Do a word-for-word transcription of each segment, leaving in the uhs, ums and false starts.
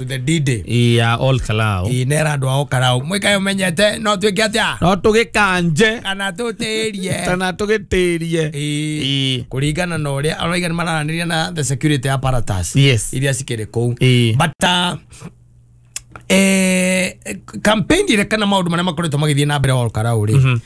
The D-Day ya Ol Kalou. Ĩ nera andũ a Ol Kalou mwĩkae ũmenyete no twĩke atĩa, no tũgĩkanje kana tũtĩrie, kana tũgĩtĩrie. Ĩ kũringana na ũrĩa arauga nĩ mararanĩria na the security apparatus Yes. iria cikĩrĩ kũu. Ĩ. But uh, eh, campaign ire kana maũndũ marĩa makoretwo magĩthiĩ na mbere Ol Kalou rĩ,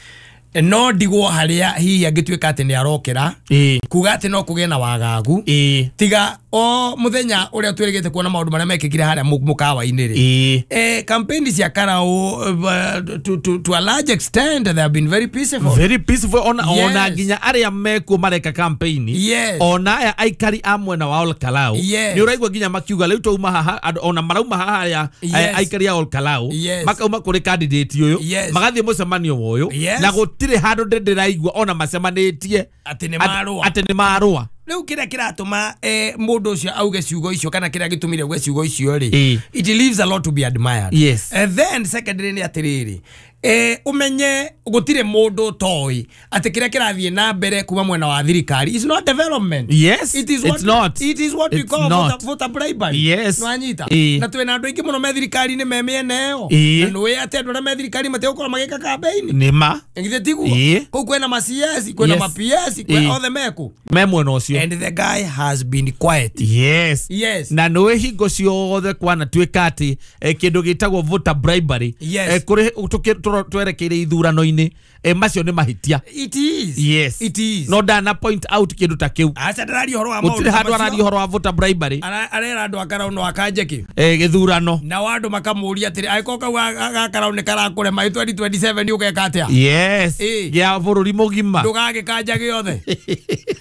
no ndigwo harĩa hihi angĩtuĩka atĩ nĩ arokĩra Ĩ. kuga atĩ no kũgĩe na wagagu, Ĩ. tiga o mũthenya ũrĩa twĩrĩgĩte kuona maũndũ marĩa mekĩkire harĩa mũ- mũkawa-inĩ rĩ. Ĩ. Eh, campaign cia Karau, uh, to, to, to a large extent they have been very peaceful. Very peaceful ona, Yes. ona nginya arĩa mekuo mareka campaign, Yes. ona aya aikari a mwena wa Ol Kalou, Yes. nĩ ũraigua nginya makiuga rĩu twauma haha andũ- ona marauma haha arĩa Yes. eh, aikari a Ol Kalou, Yes. makauma kũrĩ candidate ũyũ, Yes. magathiĩ mũcemanio ũyũ, Yes. na gũtirĩ handũ ndĩ ndĩraigua ona macemanĩtie atĩ nĩ Atĩ- marũa. Atĩ nĩ marũa. Rĩu kĩrĩa kĩratũma eh, mũndũ ũcio auge ciugo icio kana kĩrĩa gĩtũmire auge ciugo icio rĩ, Ĩ. it leaves a lot to be admired. Yes. And then secondly nĩ atĩrĩrĩ, eh, ũmenye gũtirĩ mũndũ ũtoĩ atĩ kĩrĩa kĩrathiĩ na mbere kuma mwena wa thirikari is not development. Yes, It is it's what, not. It is what we It's call not. voter, voter bribery. Yes. Nĩwanyita? Ĩ. Na twĩna andũ aingĩ mũno me thirikari-inĩ me mĩena ĩyo. Ĩ. Na nĩũĩ atĩ andũ arĩa me thirikari matigũkorwo magĩka campaign. Nĩ ma. Githĩ tiguo? Ĩ. Kũu kwĩna ma C S, kwĩna Yes. ma P S, kwĩ Ĩ. othe meku. Me mwena ũcio. And the guy has been quiet. Yes. Yes. Na nĩũĩ hingo ciothe kwanatuĩka atĩ eh, kĩndũ gĩtagwo voter bribery, Yes. eh, kũrĩ tũkĩ- tũro- twerekeire ithurano-inĩ, eh, macio nĩ mahĩtia. It is. Yes. It is. No ndana point out kĩndũ ta kĩu. Aca ndararia ũhoro wa Gũtirĩ maũndũ ta handũ macio. araria ũhoro wa voter bribery. Ara- arera andũ a Karau no akanje kĩ. eh, gĩthurano. Nao andũ makamũria atĩrĩ, angĩkorwo kau ga- ga Karau nĩ karakũrema twenty twenty-seven ũgeka atĩa? Yes. Ĩ. Gĩa bũrũri mũgima. Ndũgagĩkanja gĩothe.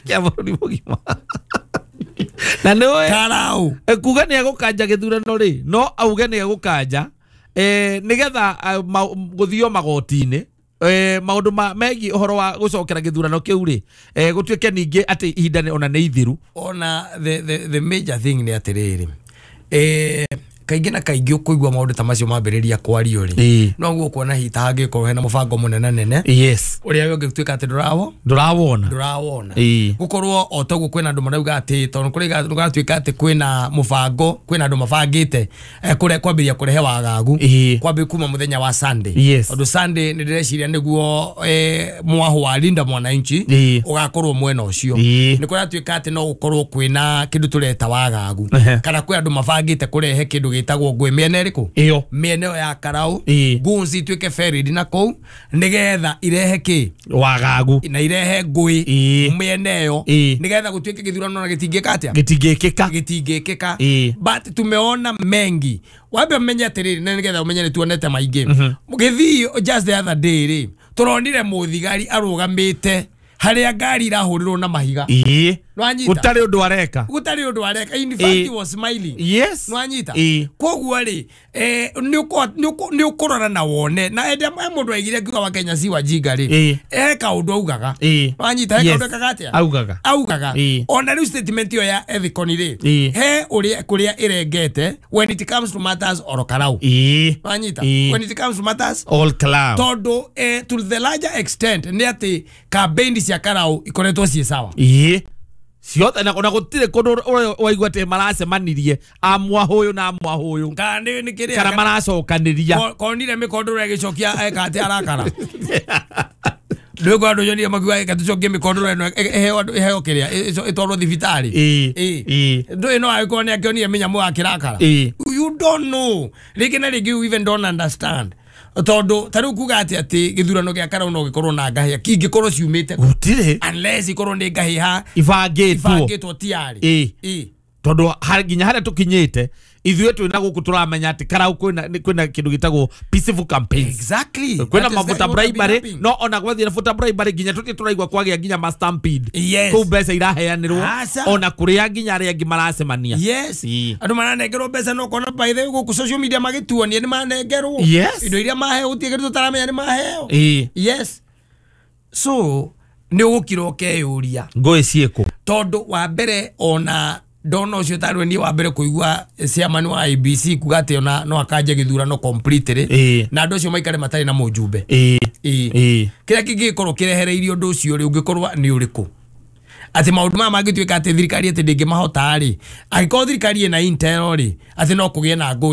Gĩa bũrũri mũgima na nĩũĩ Karau. Eh, kuga nĩ egũkanja gĩthurano rĩ, no auge nĩ egũkanja eh, nĩgetha eh, ma- gũthio magoti-inĩ, eh, maũndũ ma megiĩ ũhoro wa gũcokera gĩthurano kĩu rĩ, eh, gũtuĩke ningĩ atĩ ihinda nĩ- ona nĩ ithiru. Ona the, the, the major thing nĩ atĩrĩrĩ, eh, kaingĩ na kaingĩ ũkũigua maũndũ ta macio mambĩrĩria kwario rĩ, Ĩ. noguo ũkuona hihi ta hangĩkorwo hena mũbango mũnene nene Yes. ũrĩa ũngĩtuĩka atĩ ndũrawo Ndũrawona. Ndũrawona. Ĩ. Gũkorwo o toguo kwĩna andũ marauga atĩ tondũ kũrĩ kũratuĩka atĩ kwĩna mũbango, kwĩna andũ mabangĩte eh, kũre kwambĩrĩria kũrehe wagagu Ĩ. kwambĩ kuma mũthenya wa Sunday, Yes. tondũ Sunday nĩ ndĩreciria nĩguo eh, mwaho wa Linda Mwananchi Ĩ. ũgakorwo mwena ũcio. Ĩ. Nĩ kũratuĩka atĩ no gũkorwo kwĩna kĩndũ tũreta wagagu Ehe. kana kwĩ andũ mabangĩte kũrehe kĩndũ gĩtagwo ngũĩ mĩena ĩrĩkũ, ĩyo. Mĩena ĩyo ya Karau, Ĩ. guns ituĩke ferried na kũu nĩgetha irehe kĩ Wagagu. Na irehe ngũĩ Ĩ. mĩena ĩyo, Ĩ. nĩgetha gũtuĩke gĩthurano na gĩtingĩka atĩa? Gĩtingĩkĩka. Gĩtingĩkĩka. Ĩ. But tumeona mengi. Wambe ũmenye atĩrĩrĩ, na nĩgetha ũmenye nĩ tuonete maingĩ gĩthii, just the other day rĩ, tũronire mũthigari arũgamĩte harĩa ngari irahũrĩrwo na mahiga. Ĩ. Nĩwanyita? Gũtarĩ ũndũ areka. Gũtarĩ ũndũ areka. In fact, Ĩ. he was smiling. Yes. Nĩwanyita? Ĩ. Koguo rĩ, eh, nĩ ũkũ- nĩ ũkũ- nĩ ũkũrora na wone na ende mũndũ aigire akiuga wa Kenya si wajinga rĩ, Ĩ. he kaũndũ augaga. Ĩ. Nĩwanyita? He Yes. kaũndũ ekaga atĩa? Augaga. Augaga. Ĩ. Ona rĩu statement ĩyo ya Ethicon rĩ, Ĩ. he ũrĩa kũrĩa ĩrengete when it comes to matters Ol Kalou. Ĩ. Nĩwanyita? Ĩ. When it comes to matters Ol Kalou. Tondũ eh, to the larger extent nĩ atĩ campaign cia Karau ikoretwo ciĩ sawa. Ĩ, ciothe, na na gũtirĩ kũndũ ũrĩa waigua atĩ maracemanirie a mwahũyũ na mwahũyũ kana nĩ nĩ kĩrĩa kana maracokanĩria. Ko- konire mĩkondoro ĩgĩcokia eka atĩ arakara ndwĩkwa andũ nyonire makiuga eka tũcokie mĩkondoro ĩno ĩheo andũ- ĩheo kĩrĩa ĩ- ĩtwarwo thibitarĩ. Ĩ. Ĩ. Ĩ. Ndũĩ no agĩkorwo nĩ akĩonire mĩnyamũ ya kĩrakara. Ĩ. You don't know, rĩngĩ na rĩngĩ you even don't understand, tondũ ta rĩu kuga atĩ atĩ gĩthurano gĩa Karau no gĩkorwo na ngahĩha kingĩkorwo ciumĩte kũ? Gũtirĩ. Unless ikorwo nĩ ngahĩha ibangĩtwo. Ibangĩtwo tiarĩ. Ĩ. Ĩ. Tondũ har- nginya harĩa tũkinyĩte ithuĩ twĩna gũkũ tũramenya atĩ Karau kwĩna nĩ- kwĩna kĩndũ gĩtagwo peaceful campaigns. Exactly. Kwĩna That is mavuta what have been bribery happening. no ona gwathiĩ na voter bribery nginya tũtirĩ tũraigua kwagĩa nginya ma stampede Yes. kũu mbeca iraheanĩrwo Aca. ona kũrĩa nginya arĩa angĩ maracemania. Yes. Ĩ. Andũ maranengerwo mbeca no kona by the way gũkũ social media magĩtuonia nĩ manengerwo Yes. indo iria maheo, gũtirĩ kĩndũ tũtaramenya nĩ maheo. Ĩ. Yes, so nĩ ũgũkira ũkeyũria ngũĩ ciĩkũ? Tondũ wa mbere ona ndona ũcio tarĩ niĩ wa mbere kũigua chairman wa I E B C kuga atĩ ona no akanje gĩthurano completely Ĩ. na andũ acio maikare matarĩ na mũjumbe. Ĩ. Ĩ. Ĩ. Kĩrĩa kĩngĩgĩkorwo kĩrehereirie ũndũ ũcio rĩ, ũngĩkorwo nĩ ũrĩkũ? Atĩ maũndũ maya mangĩtuĩka atĩ thirikari atĩ ndĩngĩmahota rĩ, angĩkorwo thirikari ĩna intel rĩ, atĩ no kũgĩe na ngũĩ.